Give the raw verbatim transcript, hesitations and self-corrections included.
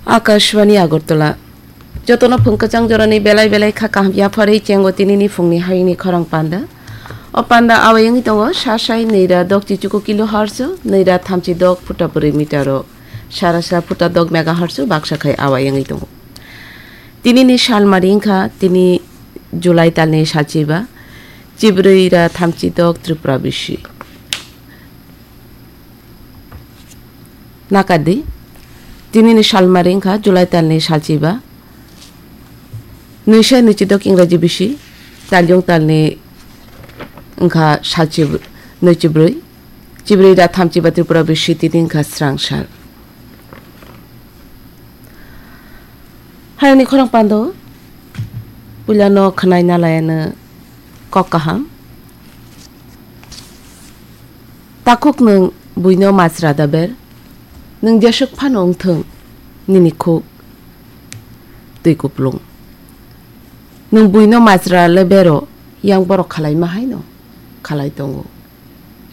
Akashvani Agartala. Jotono phung kwchang jorani belai belai kha kaham yapharwi chengo tinini phungni hayungni khorang panda. O panda awai wngwi tongo, sasai nwi ra dok chichuku kilohertz, nwi ra thamchi dok phuta bwrwi meter o, sarasa phuta dok megahertz baksa khai awai wngwi tongo. Tinini salmari wngkha tini July talni salchiba, chibrwi ra thamchi dok Tripura bisi. Nakadi, tinini salmari wngkha July talni salchiba, nwisa nwichidok Ingraji bisi, talyung talni wngkha salchi nwichibrwi, chibrwi ra thamchiba Tripura bisi tini wngkha srang sal. Hayungni khorang pando, puilano khwnai nalayano kok kaham. Takhuk nwng buino majra da ber, nwng jeswk phano wngthwng nini khuk twi kuplung. Nwng buino majra le bero, yang borok khalaima haino khalai tongo.